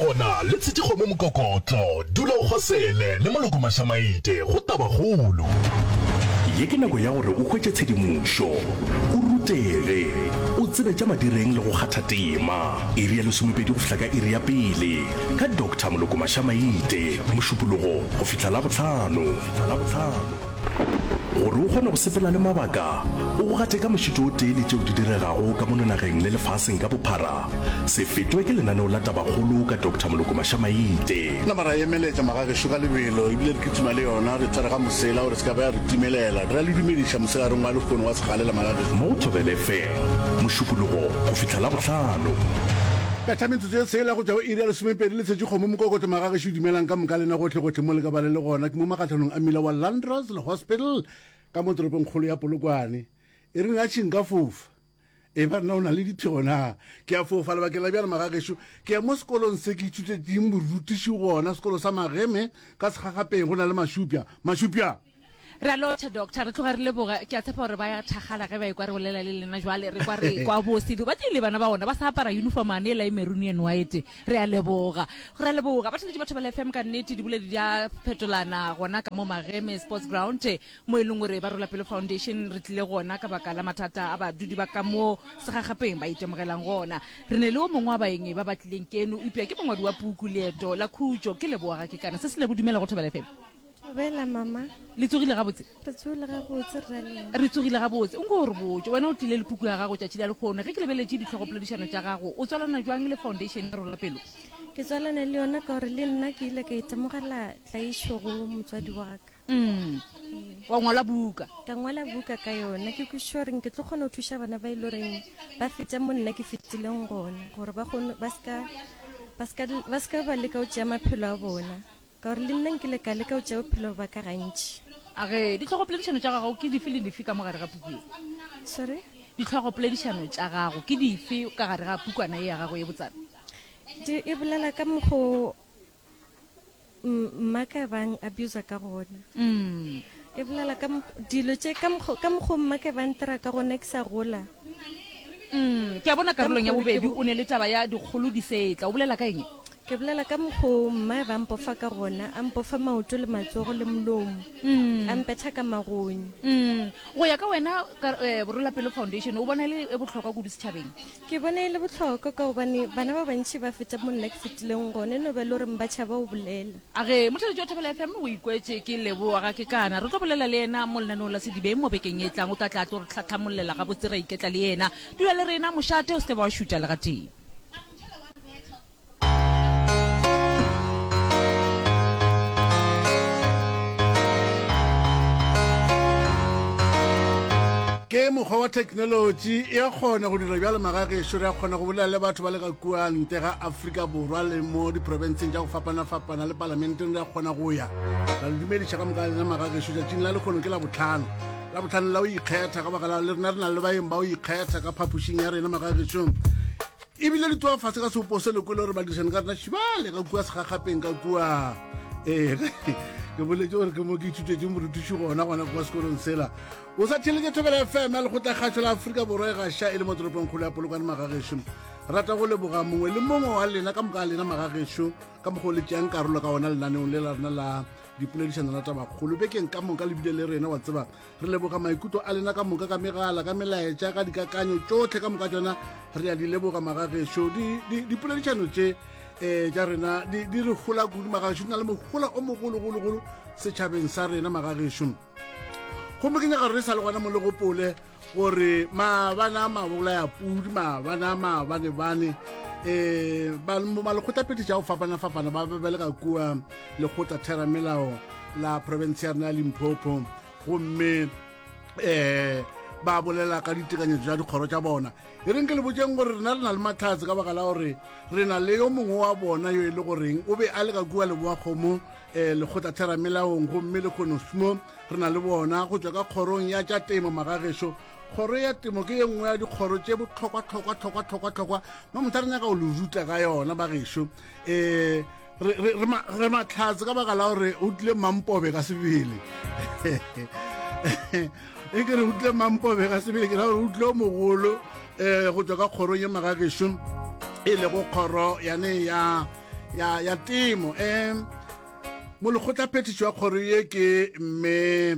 gona le tshetše kgomo mokokotlo, dula o kgosele le Moloko Mašamaite go Tabakgolo. Ye ke nako ya gore o hwetše tshedimošo, o rutege, o tsebe tša madireng le go kgatha tema. Iri ya lesomepedi go fihla ka iri ya pele ka Doctor Moloko Mašamaite, Mošupologo go fihla Labohlano. Gore o kgone go sepela le mabaka, o go gate ka mošito o tee le tšeo di diregago ka mono nageng le lefaseng ka bophara, se fetwe ke lenaneo la Tabakgolo ka Doctor Moloko Mašamaite. Nama ra emeletša magagešo ka lebelo ebile re kitima le yona, re tshwere ga mosela gore se ka ba ya re timelela. Re a le dumediša mosegareng wa lehono wa segalela magagešo. Mo go Thobela FM, Mošupologo go fihla Labohlano. Betha metsotso ye tshela go tšwa go iri ya lesomepedi le tshetše kgomo mokokotlo magagešo dumelang ka moka lena gohle gohle mo le ka ba le le gona ke mo magahlanong a mmila wa Landros le Hospital ka mo toropong kgolo ya Polokwane e reng a tšhing ka fofa e ba nna o na le diphego na ke a fofa lebakeng la bjale magagešo ke ya mo sekolong se ke ithutetšeng borutiši gona sekolo sa Mageme ka Segagapeng go na le Mašupja Mašupja Re a lotšha, Doctor. Re tloga re leboga. Ke a tshepa gore ba ya thakgala ge ba ekwa re bolela le lena jwale. Re kwa re kwa bose. Ba tlile bana ba bona ba sa apara uniform ane ela e maroon and white. Re a leboga. Re a leboga. Ba theletše batho ba FM ka nnete diboledi di a fetolana gona ka mo Mageme Sports Ground mo e leng gore ba Rola Pelo Foundation re tlile gona ka baka la mathata a badudi ba ka mo segagapeng ba itemogelang gona. Re ne le o mongwe wa baeng ba ba tlileng keno eupša ke mongwadi wa puku Leeto la Khutšo. Ke leboga ke kana se se lebo dumela go Thobela FM. Thobela, mama. Le tsogile gabotse? Re tsogile gabotse, rralena. Re tsogile gabotse. Nko o re botše, wena o tlile le puku ya gago tšatši la lehono. Ge ke lebeletše dihlogopoledišano tša gago, o tswalana bjang le Foundation ya Rola Pelo? Ke tswalana le yona ka gore le nna ke ile ka itemogela tlaišo go motswadi wa ka. Mm. Wa ngwala buka? Ka ngwala buka ka yona. Ke kwešiša gore ke tlo kgona go thuša bana ba e le goreng ba feta mo nna ke fetileng gona, gore ba kgone, ba seka, ba seka, ba seka ba leka go tšea maphelo a bona. Ka gore le nna nkile ka leka go tšea bophelo ba ka gantši. A re, Dihlogopoledišano tša gago ke dife le dife ka mo gare ga puku ye? Sorry? Dihlogopoledišano tša gago ke dife ka gare ga pukwana ye ya gago ye botsana? Di, e bolela ka mokgo mma ka bang abuser ka gona. Mm. E bolela ka dilo tše ka mokgo, ka mokgo mma ka bang ntira ka gona ke sa gola. Mm, ke a bona karolong ya bobedi o ne le taba ya dikgolo di setla. O bolela ka eng? Ke bolela ka mokgo mma ba mpofa ka gona, a mpofa maoto le matsogo le molomo, a mpetha ka magonyo. Mm. Go ya ka wena, ka, eh, Borolapelo Foundation, o bona e le e bohlokwa kudu setšhabeng? Ke bona e le bohlokwa ka gobane bana ba bantši ba feta mo nna ke fetileng gona, e no ba e le gore ba tšhaba go bolela. A re, Motheeletši wa Thobela FM o ikwetše ke Leboa ga ke kana. Re tlo bolela le yena mo lenaneong la Sedibeng mo bekeng e tlang. O tla tla a tlo re tlhatlhamollela gabotse ra iketla le yena. Dula le rena, mošate, o se ke ba wa šutha le gatee. Ke mokgwa wa theknolotši e a kgona go dira bjalo magagešo re a kgona go bolela le batho ba le ka kua ntle ga Afrika Borwa le mo diprofenseng tša go fapana-fapana le palamenteng re a kgona go ya ra le dumediša ka moka lena magagešo tšatšing la lekgono ke la botlhano la botlhano la go ikgetha ka baka la le rena re na le baeng ba go ikgetha ka phapošing ya rena magagešong ebile di tloga fase ka seopo se lekwele gore badirišane ka rena šibale ka kua segagapeng ka kua ee ke boletse gore ke mo ke ithutetše morutiši gona gona kwa sekolong sela o sa theletše thobela fm ya lekgotlakgašo la aforika borwa e gaša e le mo toropong kgolo ya polokwane magagešo rata go leboga mongwe le mongwe wa lena ka moka lena magagešo ka mokgwa o le tšeang karolo ka ona lenaneong le la rena la dipoledišano la tabakgolo bekeng ka moka le bile le rena wa tseba Re leboga maikutlo a lena ka moka ka megala, ka melaetša, ka dikakanyo tšohle ka moka tšona re a di leboga magagešo. Dipoledišano tše um tša rena di re gola kudu magagešo, di na le mohola o mogologologolo setšhabeng sa rena magagešo. Gomme ke nyaka gore re sa le gona mo le gopole gore maabane a mabolaya pudi, maabane a maabanebane um malekgotlaphethiši a go fapana-fapana ba be ba le ka kua lekgotla theramelao la province ya rena ya Limpopo gomme um ba bolela ka ditekanyetso tša dikgoro tša bona e reng ke le botšeng gore rena re na le matlhatse ka baka la gore re na le yo mongwe wa bona yo e le goreng o be a le ka kua leboa kgomo um lekgotla theramelaong gomme le kgonosmo re na le bona go tšwa ka kgorong ya tša temo magagešo kgoro ya temo ke ye nngwe ya dikgoro tše bohlokwa hlokwa hlokwa hlokwa hlokwa mo motho re nyaka go le ruta ka yona bagešo um re matlhatse ka baka la gore o tlile mampobe ka sebele e ke re o tlile mampobe ka sebele ke ra gore o tlile o mogolo um go tswa ka kgorong ye magagešo e lego kgoro yane ya. ya ya temo. Um molekgotlaphethiši wa kgoro ye ke mme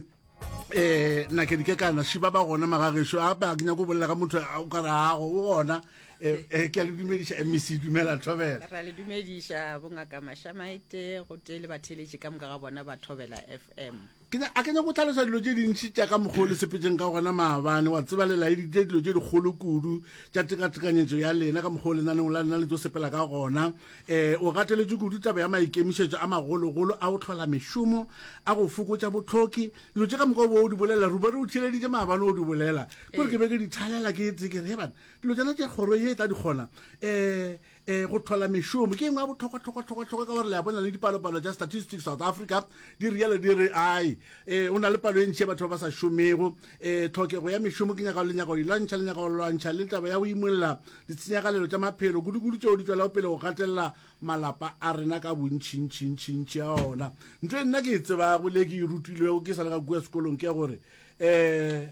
eh nna ke di ke kana šiba ba gona magagešo a ba ke nyako bolela ka motho o ka rago o gona eh, eh, ke a le dumediša mec dumela thobela ra le dumediša bongaka mašamaite go tee le batheeletši ka moka ga bona ba thobela fm ke a ke nyako tlhalosa dilo tše dintši tša ka mokgwa o le sepetseng ka gona maabane wa tseba le laeditše dilo tše dikgolo kudu tša tekatekanyetšo ya lena ka mokgwa o lenaneo la lena le tlo sepela ka gona um o gateletše kudu taba ya maikemišetšo a magologolo a go hlola mešomo a go fokotša bohloki dilo tše ka moka o bo o di bolela rubare o theeleditše maabane o di bolela kore ke be ke di thalela ke tse ke re he bana dilo tsena tše kgoro ye e tla di kgona um um go hlola mešomo ke engwe ya bohlokwa-hlokwa-hlokwa-hlokwa ka gore le a bona le dipalopalo tša Statistics South Africa di rialo di re ai um o na le palo e ntši ya batho ba ba sa šomego um tlhokego ya mešomo ke nyaka le nyaka go e lwantšha le nyaka go lwantšha le taba ya go imolla ditshenyagalelo tša maphelo kudu-kudu tšeo di tšwelago pele go gatelela malapa a rena ka bontšintšintšintši a ona ntho e nna ke e tsebago le ke e rutilwego ke sa le ka kua sekolong ke ya gore um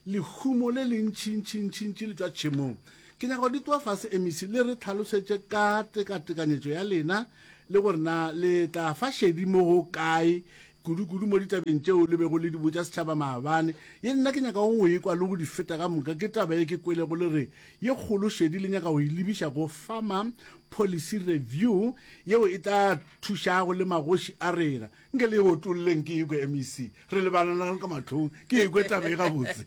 Lehumo le lentšintšintšintši le tšwa tšhemong. Ke nyaka gore di tloga fase MEC le re tlhalosetše ka tekatekanyetšo ya lena le gore na le tla fa šedi mo go kae kudu-kudu mo ditabeng tšeo le bego le di botša setšhaba maabane. Ye nna ke nyakago go e kwa le go di feta ka moka ke taba ye ke kwelego le re ye kgolo šedi le nyaka go e lebiša go Farmer Policy Review yeo e tla thušago le magoši a rena. Nke le e otolleng ke ekwe MEC. Re lebalana ka mahlong ke ekwe taba e gabotse.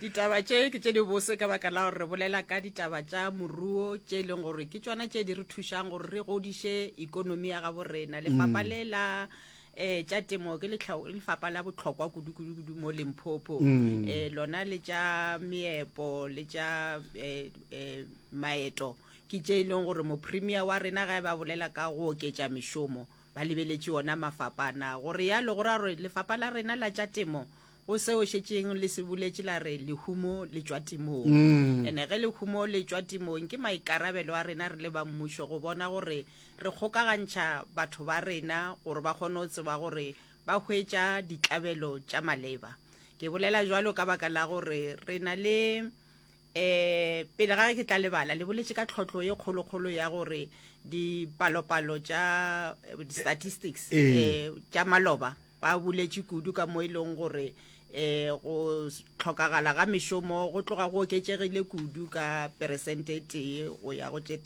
Ditaba tše ke tše dibose ka baka la gore re bolela ka ditaba tša moruo tše e leng gore ke tšona tše di re thušang gore re godiše ikonomi ya gabo rena. Lefapha mm. le la eh tša temo ke lefapha la bohlokwa kudu-kudu-kudu mo Limpopo. Mm. Eh lona le tša meepo le tša eh, eh, maeto ke tše e leng gore mopremier wa rena ga e ba bolela ka go oketša mešomo Ba lebeletše ona mafapa ana. Go realo go ra gore lefapa la rena la tša temo go seo šetšeng le se boletše la re lehumo le tšwa temong. Ene ge lehumo le tšwa temong ke maikarabelo a rena re le ba mmušo go bona gore re kgokagantšha batho ba rena gore ba kgone go tseba gore ba hwetša ditlabelo tša maleba. Ke bolela bjalo ka baka la gore re na le Um pele ga ge ke tla lebala, le boletše ka tlhotlo ye kgolokgolo ya gore dipalopalo tša di-statistics um tša maloba ba boletše kudu ka mo e leng gore um go hlokagala ga mešomo go tloga go oketšegile kudu ka peresente e tee go ya go tše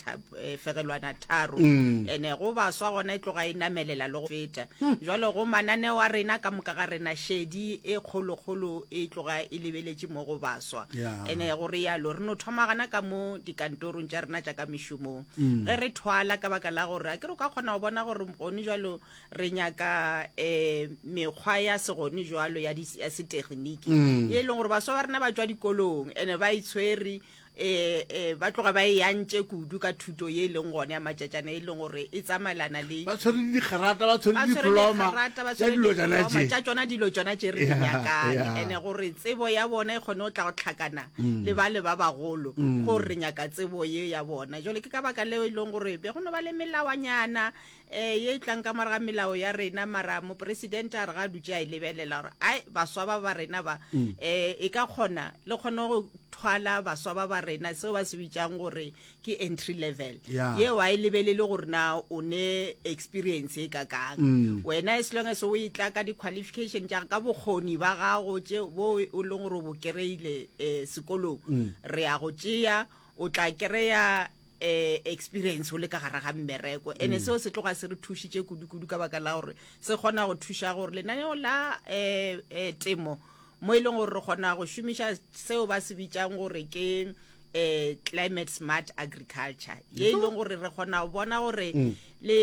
fegelwana tharo. Ene go baswa gona e tloga e namelela le go feta. Jwale go mananeo a rena ka moka ga rena šedi e kgolokgolo e tloga e lebeletše mo go baswa. Ene go realo re no thoma gana ka mo dikantorong tša rena tša ka mešomong ge re thwala ka baka la gore a ke re o ka kgona go bona gore gone jwalo re nyaka um mekgwa ya segone jwalo ya ya setegniki ye e leng gore baswa ba rena ba tšwa dikolong ene ba itshwere E, e, ba tloga ba e yantše kudu ka thuto ye e leng gone ya matšatšana e leng gore e tsamaelana le ba tshwere digrata ba tshwere diploma tša dilo tšona tše tša tšona dilo tšona tše re di nyakang ene gore tsebo ya bona e kgone go tla go tlhakana mm. le ba le ba bagolo mm. gore re nyaka tsebo ye ya bona jale ke ka baka leo e leng gore be go no ba le melawanyana um ye e tlang ka morago ga melao ya rena mara mopresidente a re ga a dutše a e lebelela gore ai baswa ba ba rena ba um e ka kgona le kgone go thwala baswa ba ba rena seo ba se bitsang gore ke entry level yeo a e lebelele gore na o ne experience e kakang mm. wena as long as o e tla ka di-qualification tša ka bokgoni ba gago tše bo o leng gore o bo kry-ile um sekolong mm. re ya go tšea o tla kry-a eh experience o le ka gare ga mmereko ene mm. seo se tloga se re thušitše kudu-kudu ka baka la gore se kgona go thuša gore lenaneo la eh, eh, temo mo e leng gore re kgona go šomiša seo ba se bitšang gore ke eh climate smart agriculture ye e leng gore re kgona go bona gore mm. le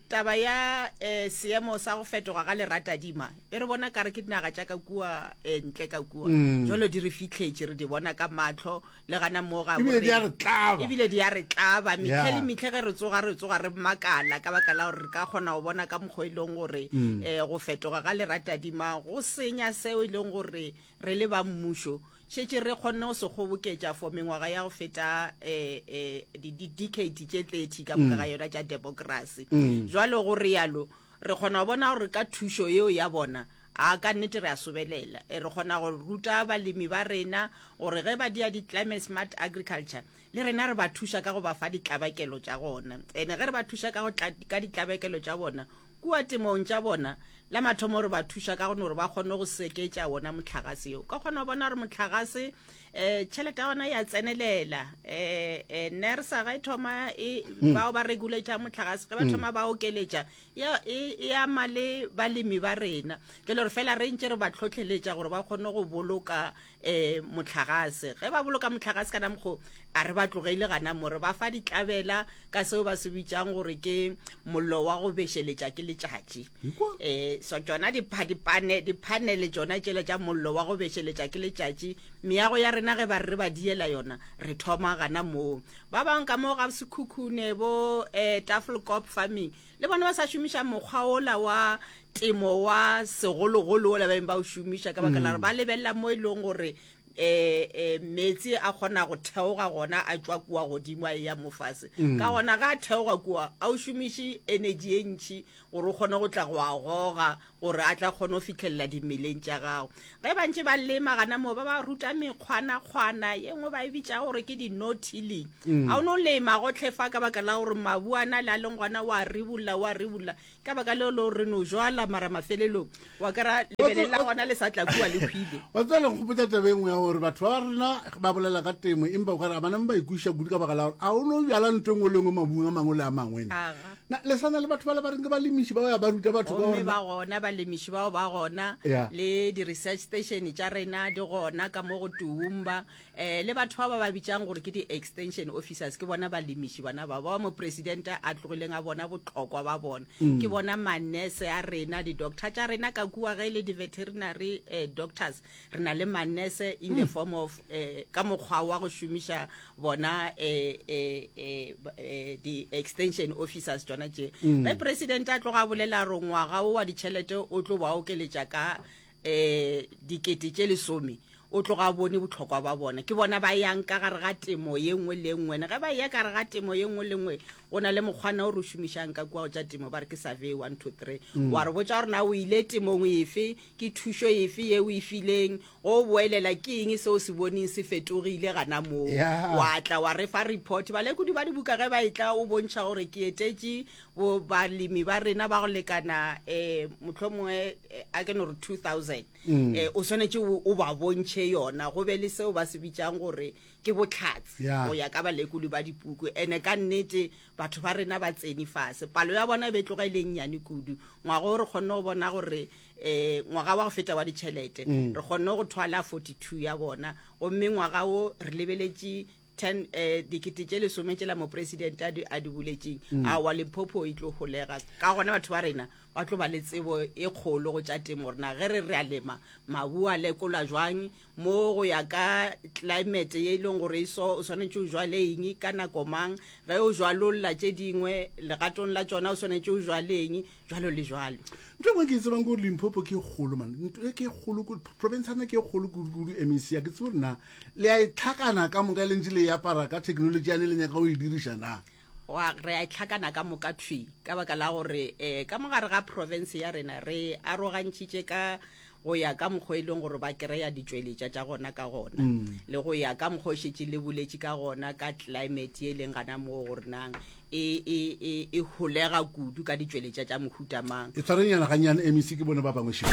taba ya eh, seemo sa go fetoga ga leratadima e re bona kare ke dinaga tša ka kua eh, ntle ka kua mm. jalo di re fitlhetše re di bona ka matlho le gana mo ga ebile di a re tlaba ebile di a re tlaba metlhe le metlhe ge re tsoga re tsoga re makala ka baka la gore re ka kgona go bona ka mokgwa e leng gore um go fetoga ga leratadima go senya seo e leng gore re le ba mmušo šetše re kgonne go se kgoboketša for mengwaga ya go feta um um di-decade tše 30 ka moka ga mm. yona tša democracy mm. jalo go rialo re kgona go bona gore ka thušo yeo ya bona. A ka nnete re a sobelela. E, re kgona go ruta balemi ba rena gore ge ba dia di-climate smart agriculture, le rena re ba thuša ka go ba fa ditlabakelo tša gona. Ene ge re ba thuša ka go tla, ka ditlabakelo tša bona kua temong tša bona, la mathomo re ba thuša ka go no gore ba kgone go seketša wona mohlagase yo. O ka kgona go bona gore mohlagase um tšhelete ya gona ya tsenelela. Um um NERSA ge e thoma e, bao ba regulate mohlagase ge ba thoma ba okeletša ya e, e ama le balemi ba rena. Jale re fela re ntše re ba tlhotlheletša gore ba kgone go boloka um mohlagase. Ge ba boloka mohlagase kana mokgo, a re ba tlogele gana mo, re ba fa ditlabela ka seo ba se bitšang gore ke mollo wa go bešeletša ke letšatši. Um so tšona diphanele tšona tšela tša mollo wa go bešeletša ke letšatši, meago ya rena ge ba re re ba diela yona, re thoma gana moo. Ba bangwe ka mo ga Sekhukhune bo um Tafelkop Farming le bona ba sa šomiša mokgwa ola wa temo wa segologolo ola ba beng ba o šomiša ka baka la gore ba lebelela mo e leng gore eh eh meetse a kgona go theoga gona a tšwa kua godimo a eya mo fase. Ka gona ga a theoga kua a o šomiše energy e ntši gore o kgone go tla go a goga gore a tla kgone go fihlelela dimeleng tša gago. Ge ba ntše ba lema gana moo ba ba ruta mekgwanakgwana ye nngwe ba e bitša gore ke di-no tilling. Ga o no lema gohle fa ka baka la gore mabu a na le a leng gona wa ribolla wa ribolla ka baka leo le gore re no jwala mara mafelelong wa kry-a lebele la gona le sa tla kua le hwile. Wa tseba le nkgopotša taba e nngwe ya gore batho ba rena ba bolela ka temo empa o ka re ga ba name ba ikwešiša kudu ka baka la gore a o no bjala ntho e nngwe le nngwe mabung a mangwe le a mangwe. Aga. Na le sa na le batho bale ba reng ke balemiši ba ya ba ruta batho ka Gomme ba gona balemiši bao ba gona Yeah. le di-research station tša rena di gona ka mo go Toowoomba um le batho ba ba ba bitšang gore ke di-extension officers ke bona balemiši bona ba ba mopresidente a tlogileng a bona bohlokwa ba bona ke bona manese a rena di-doctor tša rena ka kua ge e le di-veterinary eh, doctors re na le manese in the form of eh, ka mokgwa wa go šomiša bona eh, eh, eh, eh, di-extension officers tšona tše ge president a tloga a bolela gore ngwaga o wa ditšhelete o tlo ba okeletša ka um dikete tše lesome o tloga a bone bohlokwa ba bona ke bona ba yang ka gare ga temo ye nngwe le nngwe ne ge ba ya ka gare ga temo ye nngwe le nngwe go na le mokgwana o re o šomišang ka kua go tša temo ba re ke survey 1 2 3 wa re botša gore na o ile temong efe Ke thušo efe ye o e fileng? Go o boelela, ke eng se o se boneng se fetogile gana moo? Yeah. Wa tla wa re fa report. Balekodi ba dibuka ge ba etla o bontšha gore ke etetše bo balemi ba rena ba go lekana um mohlomongwe eh, a ke no re 2000. Mm. Eh, o swanetše o o ba bontšhe yona go be le seo ba se bitšang gore ke bohlatse Yeah. go ya ka balekodi ba dipuku. Ene ka nnete batho ba rena ba tsene fase. Palo ya bona e be e tloga e le e nnyane kudu. Ngwaga o re kgonne go bona gore um ngwaga wa go feta wa ditšhelete mm. re kgonne go thwala 42 ya bona gomme ngwaga wo re lebeletše 10 eh dikete tše lesome tšela mopresidente a di a di buletšeng mm. a wa Limpopo e tlo holega ka gona batho ba rena ba tlo ba le tsebo e kgolo go tša temo rena ge re re a lema mabu a lekola jwang Mo go ya ka climate ye e leng gore e so, o swanetše o jwale eng ka nako mang, ge o jwalolla tše dingwe legatong la tšona o swanetše o jwale eng, jwalo le jwalo. Ntho e nngwe ke e tsebang ke gore Limpopo ke e kgolo man, ntho e ke e kgolo kudu, province ya rena ke e kgolo kudu-kudu, MEC, a ke tsebe gore na le a e tlhakana ka moka le ntše le e apara ka technology yane le nyaka go e diriša na? Wa, re a e tlhakana ka moka thwi, ka baka la gore um ka mo gare ga province ya rena re arogantšhitše ka go ya ka mokgwa e leng gore ba kereya ditšweletša tša gona ka gona le go ya ka mokgwa o šetše le boletše ka gona ka climate ye e leng gana moo gore nang e, e, e, e holega kudu ka ditšweletša tša mohuta mang. E tshwarenyana gannyane MEC ke bone ba bangwe šeo.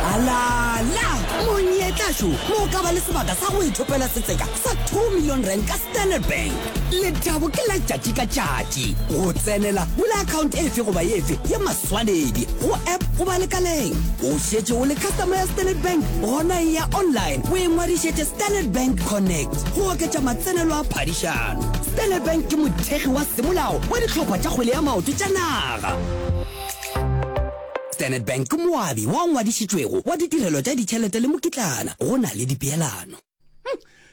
Alala! Monyetla šo mo o ka ba le sebaka sa go ithopela setseka sa 2 million rand ka Standard Bank. Lethabo ke la tšatši ka tšatši. Go tsenela, bula account efe goba efe ya maswanedi go app goba lekaleng. O šetše o le customer ya Standard Bank? Gona eya online o ingwadišetše Standard Bank Connect go oketša matsenelo a phadišano. Standard Bank ke mothekgi wa semolao wa dihlopha tša kgwele ya maoto tša naga. Standard Bank ke moabi wa ngwadišitšwego wa ditirelo tša ditšhelete le mokitlana. Go na le dipeelano.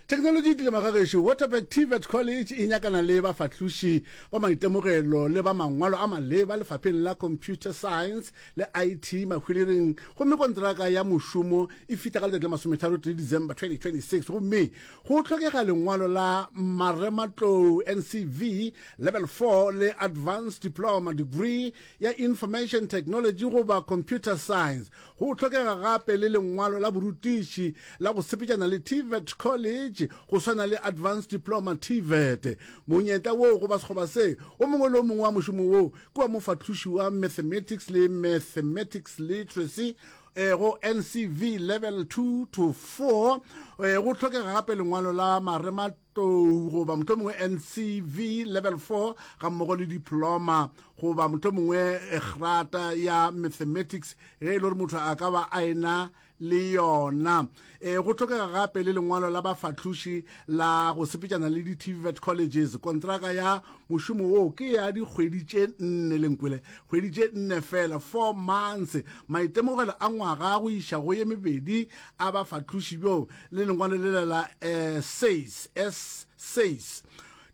Theknolotši e tlile magagešo. Waterberg TVET College e nyakana le bafahloši ba maitemogelo le ba mangwalo a maleba lefapheng la Computer Science le IT Mahwilereng gomme kontraka ya mošomo e fihla ka letšatši la masometharotee December 2026 gomme go hlokega lengwalo la marematlou NCV Level 4 le Advanced Diploma Degree ya Information Technology goba Computer Science. Go hlokega gape le lengwalo la borutiši la go sepetšana le TVET College go swana le Advanced Diploma TVET. Monyetla wo goba sekgoba se, o mongwe le o mongwe wa mošomo wo ke wa mofahloši wa Mathematics le Mathematics Literacy go NCV Level 2 to 4. Go hlokega gape lengwalo la marematlou goba mohlomongwe NCV Level 4 gammogo le diploma goba mohlomongwe grata ya Mathematics ge e le gore motho a ka ba a ena le yona. E, go hlokega gape le lengwalo la bafahloši la go sepetšana le di-TVET colleges. Kontraka ya mošomo wo ke ya dikgwedi tše nne, lenkwele, kgwedi tše nne fela, four months. Maitemogelo a ngwaga go iša go ye mebedi a bafahloši bjo le lengwalo lela la eh, SACE, S-SACE.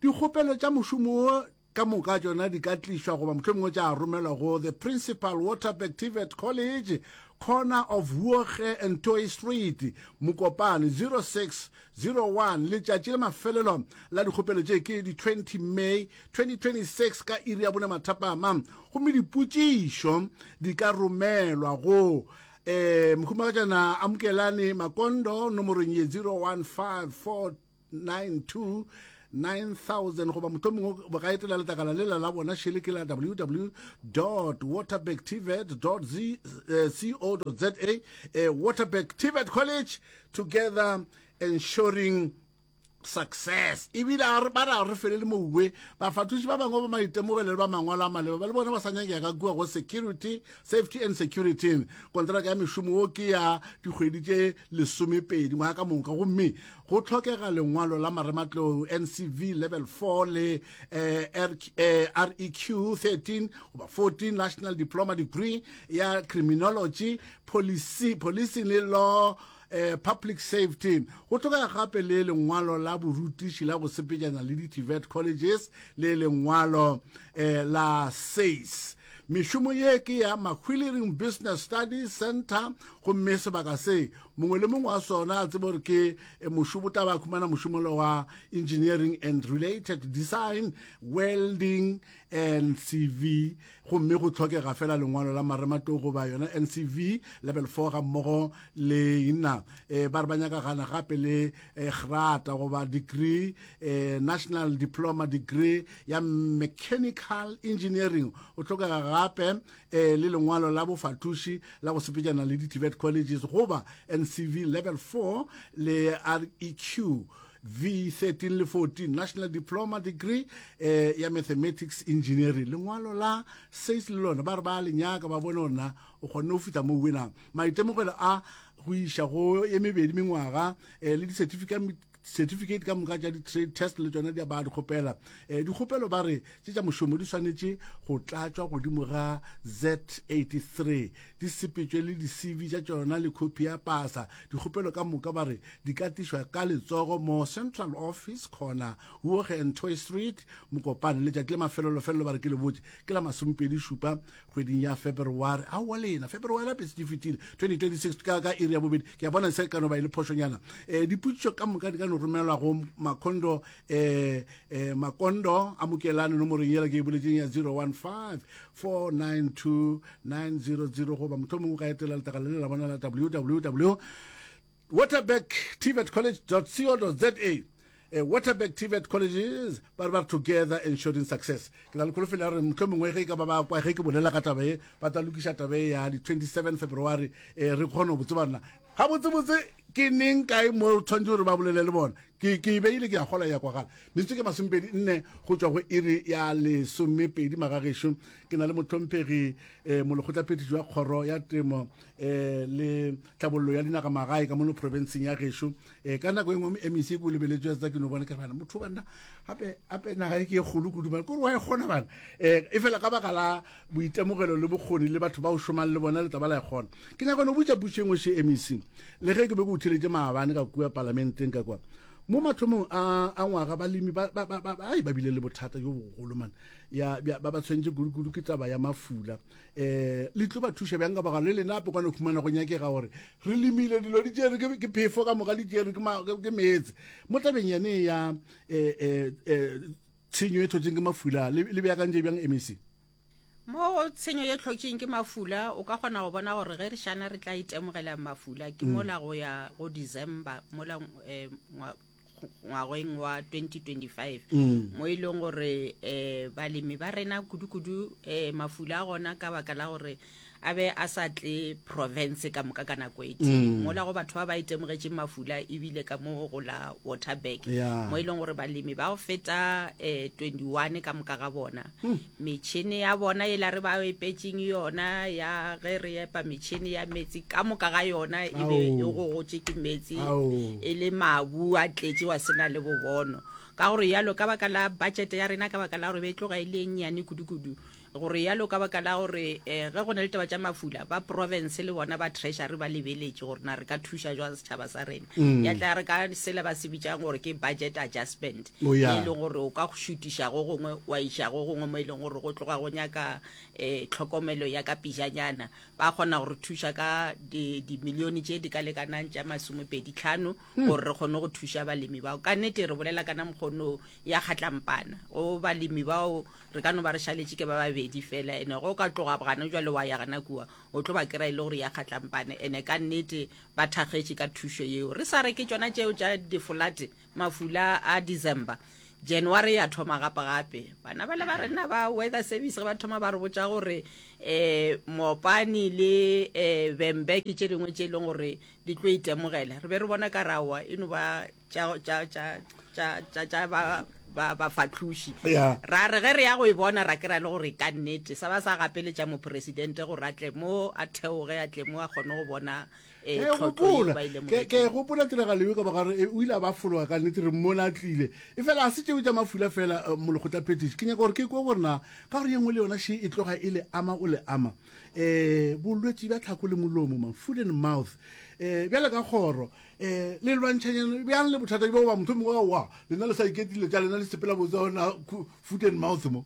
Dikgopelo tša mošomo wo Ka moka tšona di ka tlišwa goba mohlomongwe tša romelwa go The Principal, Waterberg TVET College, corner of Huoge and Toy Street, Mokopane, 0601. Letšatši la mafelelo la dikgopelo tše ke di 20 May 2026 ka iri ya bone mathapama, gomme dipotšišo di ka romelwa go eh, Mohumagatšana Amukelani Makondo nomorong ye 0154 92 9000 goba mohlomongwe ba ka etela letlakala lela la bona šele ke la www waterberg tvet co za eh, waterberg tvet college together ensuring success ebile ba ra re felele mouwe bafathuši ba bangwe ba maitemogelo le ba mangwalo a maleba ba le bona ba sa nyakega ka kua go security safety and security kontraka ya mešomo wo ke ya dikgwedi tše lesomepedi ngwaga ka moka gomme Go hlokega lengwalo la marematlou NCV Level 4 le eh, REQ 13 goba 14 National Diploma Degree ya Criminology, Policy, Policing le Law eh, Public Safety. Go hlokega gape le lengwalo la borutiši la go sepetšana le di-TVET colleges le lengwalo eh, la SACE. Mešomo ye ke ya Mahwilereng Business Studies Center gomme sebaka se Mongwe le mongwe wa sona a tsebe gore ke eh, mošomo o tla ba khumana mošomolo wa engineering and related design, welding and CV gomme go tlhokega fela lengwalo la marematlou goba yona NCV level 4 ga mmogo le ina eh, ba re ba nyaka gana gape le eh, grata goba degree eh, national diploma degree ya mechanical engineering o tlhokega gape e le lengwalo la bofahloši la go sepetšana le di-TVET colleges goba NCV level 4 le REQ V13 le 14 National Diploma Degree eh, ya Mathematics Engineering lengwalo la SACE le lona ba re ba le nyaka ba bone gore na o kgonne go fihla mo winang maitemogelo a go iša go ye mebedi mengwaga eh, le di-certificate Certificate ka moka tša di-trade test le tšona di a ba di kgopela. Eh, dikgopelo ba re tše tša mošomo di swanetše go tlatšwa godimo ga Z83, di sepetšwe le di-CV tša tšona le khopi ya pasa. Dikgopelo ka moka ba re di ka tlišwa ka letsogo mo Central Office, corner Huoge and Toy Street, Mokopane. Letšatši la mafelelo-felelo ba re ke le botše ke la masomepedi šupa kgweding ya February. Aowa lena, February gape se fetile 2026 ka, ka iri ya bobedi. Ke a bona se ka no ba e le phošonyana. Eh, dipotšišo ka moka di ka no romelwa go Makondo, eh, eh, Makondo a Mokelane nomorong yela ke e boletseng ya 015 492 900 goba mohlomongwe o ka etela letlakala le la bona la www Waterberg TVET College co za eh, Waterberg TVET Colleges ba re ba re together ensuring success. Ke na le kholofelo ya gore mohlomongwe ge e ka ba ba kwa ge ke bolela ka taba ye ba tla lokiša taba ye ya di 27 February eh, re kgone go tseba rena gabotsebotse ke neng kae mo tshwanetse gore ba bolele le bona. Ke ke e beile ke a kgola ya kwagala. Metsotso ke masomepedi nne go tšwa go iri ya lesomepedi magagešo. Ke na le mohlomphegi eh, molekgotlaphethiši wa kgoro ya temo eh, le tlhabollo ya dinagamagae ka mono profenseng ya gešo um ka nako e nngwe mec ko lebeletswe tsa ke no bona ke bana motho banna gape gape naga e ke e kgolo kudu bana kore wa e kgona bana um e fela ka baka la boitemogelo le bokgoni le batho ba o šomang le bona le taba la e kgona ke nyaka no botša pušo e nngwe še mec le ge ke be ke o theletše maabane ka kua palamenteng ka kwa. Mo mathomong a a ngwaga balemi ba ba ba ba ai ba bile le bothata bjo bogolo man ya bja ba ba tshwentše kudu-kudu ke taba ya mafula. Eh le tlo ba thuša bjang ka baka le lena ape kwana khumana go nyakega gore re lemile dilo di tšere ke ke phefo ka moka di tšere ke ke meetse. Mo tabeng yane ya eh eh eh tshenyo e tlhotseng ke mafula le le beakantše bjang MEC? Mo go tshenyo ye hlotšeng ke mafula, o ka kgona go bona gore ge re šana re tla itemogela mafula ke mola go ya go December mola eh, ngwageng wa 2025 mo e leng gore eh, balemi ba rena kudu-kudu eh, mafula a gona ka baka la gore a be a sa tle province ka moka ka nako e tee mm. mola go batho ba ba itemogetšeng mafula ebile ka mo go la waterberg yeah. mo e leng gore balemi ba go feta um 21 ka moka ga bona mm. metšhene ya bona e la re ba epetseng yona ya ge re epa metšhene ya metsi ka moka ga yona e be e gogotše ke metsi e le mabu a tletše wa sena le bobono ka gore yalo ka baka la budget ya rena ka baka la gore be e tloga e le e nnyane kudu-kudu Go realo ka baka la gore ge go na le taba tša mafula, ba province le bona ba treasury ba lebeletše gore na re ka thuša jwang setšhaba sa rena. Mm. Ya tla re ka sela ba se bitšang gore ke budget adjustment, oh, yeah. e leng gore o ka go šutiša go gongwe wa iša go gongwe mo e leng gore go tloga go nyaka um tlhokomelo ya ka pejanyana. Ba kgona go re thuša ka dimilione tše di ka lekanang tša masomepedi tlhano hmm. gore re kgone go thuša balemi bao. Ka nnete re bolela kana mokgono ya kgatlampana go balemi bao Re ka no ba re šaletše ke ba babedi fela, ene ge o ka tloga gana jwale wa ya gana kua, o tlo ba kry-a e le gore ya kgatlampane. Ene ka nnete ba thakgetše ka thušo yeo. Re sa re ke tšona tšeo tša difolate, mafula a December. January ya thoma gape gape. Bana bale ba rena ba weather service ge ba thoma ba re botša gore um Mopani le um Vhembe ke tše dingwe tše e leng gore di tlo itemogela. Re be re bona ka re aowa e no ba tša tša tša tša tša tša ba ba bafatloši Yeah. ra re ge re ya go e bona ra kry-a le gore ka nnete sa ba sa gapeletša mopresidente gore a tle mo a theoge a tle mo a kgone go bona eh, Ke tlhotlo yeo gopola ba e ke ke lemogetšeng. gopola tiragalo eo ka baka gore eh, o ile a ba fologa ka nnete re mmone a tlile e fela a se tšeo tša mafula fela eh, molekgotla phetiši ke nyaka gore ke kwe gore na ka gore ye nngwe le yona še e tloga e le ama o le ama um bolwetši bja tlhako le molomo man food and mouth um bjale ka kgoro um le lwantšhanyana bjang le bothata bjo goba motho mongwe wa lena le sa iketile tša lena le sepela botse gona foot and mouth mo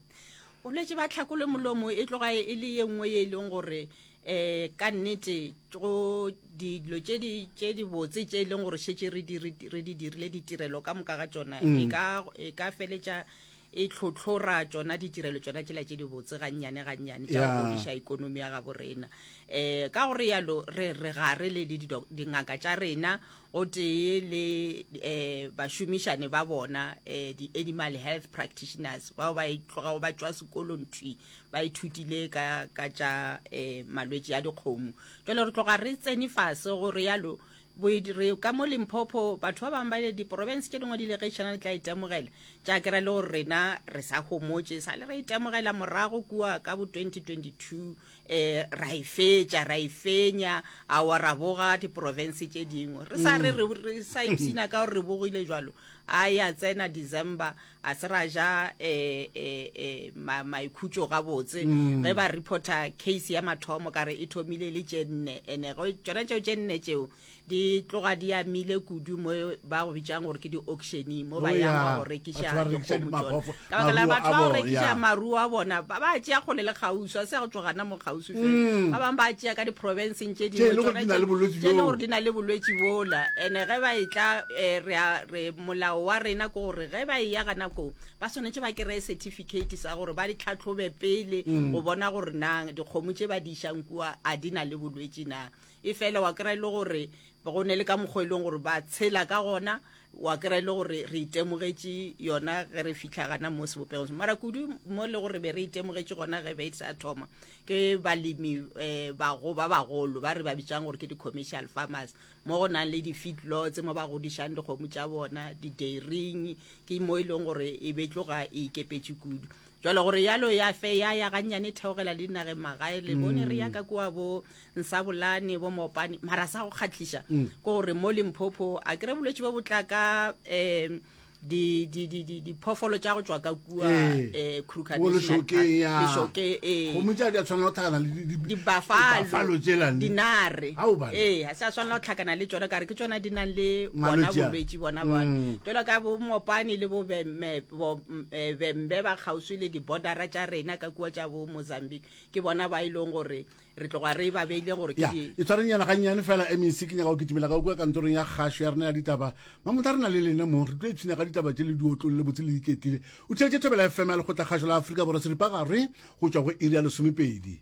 bolwetse ba tlhako le molomo e tloga e le ye nngwe ye e leng gore um ka nnete go dilo tše di tše di botse tše e leng gore šetše re di re di dirile ditirelo ka moka ga tšona mm. e ka e ka feletša e tlhotlhora tšona ditirelo tšona tšela tše dibotse gannyane gannyane tša go godiša ikonomi ya gabo rena. Um ka go realo re re gare le dingaka tša rena gotee le um bašomišane ba bona um di-animal health practitioners bao ba tlogago ba tšwa sekolong thwi ba ithutile ka ka tša um malwetši a dikgomo. Jwale re tloga re tsene fase go realo Re ka mo Limpopo, batho ba bangwe ba ile diporofense tše dingwe di ile ge tšhana le tla itemogela tša kry le gore rena re sa homotše sa le re itemogela morago kua ka bo 2022 eh ra e fetša ra e fenya awa ra boga diporofense tše dingwe re sa re re re sa ipshina ka gore re bogile jwalo a ya tsena December a se ra ja eh eh eh maikhutšo gabotse mm. ge ba reporta case ya mathomo ka re e thomile le tše nne ene go tšona tšeo tše nne tšeo di tloga di amile kudu mo ba go bitsang gore ke di-auctione mo ba oh, yang go rekiša dikgomo tsona ka baka la batho ba go rekiša maruo a bona ba ba tšea kgole le kgauswi a se go tšwa gana mo kgauswi fela mm. ba bangwe ba tšea ka diprofenseng tše dingwe tše e le gore di na le bolwetši bola ene ge ba e tla eh, re molao wa rena ke gore ge ba eya gana koo ba swanetše ba kry-e certificate sa gore ba di tlhatlhobe pele mm. go bona gore na dikgomo tše ba di išang kua a di na le bolwetši na e fela wa kry-e le gore go ne le ka mokgwa e leng gore ba tshela ka gona wa kry-e le gore re itemogetše yona ge re fitlha gana mo sebopegong mara kudu mo le gore be re itemogetše gona ge be e sa thoma ke balemi um bago ba bagolo ba re ba bitsang gore ke di-commercial farmers mo go nang le di-feed lots mo ba godišang dikgomo tša bona, di-dairying, ke mo e leng gore e be tloga e ikepetše kudu. Jwale gore yalo ya fe ya ya gannyane e theogela le dinageng magae le bone re ya ka kua bo Nsabolane bo Mopane mara sa go kgahliša ke gore mo Limpopo a kere bolwetši bo bo tla ka um. Di, di, di, di, diphoofolo tša go tšwa ka kua Ee. eh, Kruger Mo National Park. lešokeng, ya. Lešokeng, ee. Kgomo tša di a tshwanela go tlhakana le di- di- Dibafalo, dibafalo tšela ne. dinare. Ao, bana. Ee, ga se a swanela go tlhakana le tšona ka re ke tšona di nang le bona Malwetši a. bolwetši bona ba. Mm. Jalo ka bo Mopani le bo Bemme, bo, mm, eh, Bembe ba kgauswi le di-bordera tša rena ka kua tša bo Mozambique, ke bona ba e leng gore Re tloga re ba beile gore ke Ya, di. e tshwarenyana gannyane fela, MEC, ke nyaka go kitimela ka kua kantorong ya kgašo ya rena ya ditaba. Mamotla re na le lena mo, re tlo ipshina ka ditaba tše le di otlolle botse le iketlile. O theetše Thobela FM ya Lekgotlakgašo la Afrika Borwa seripagare go tšwa go iri ya lesomepedi.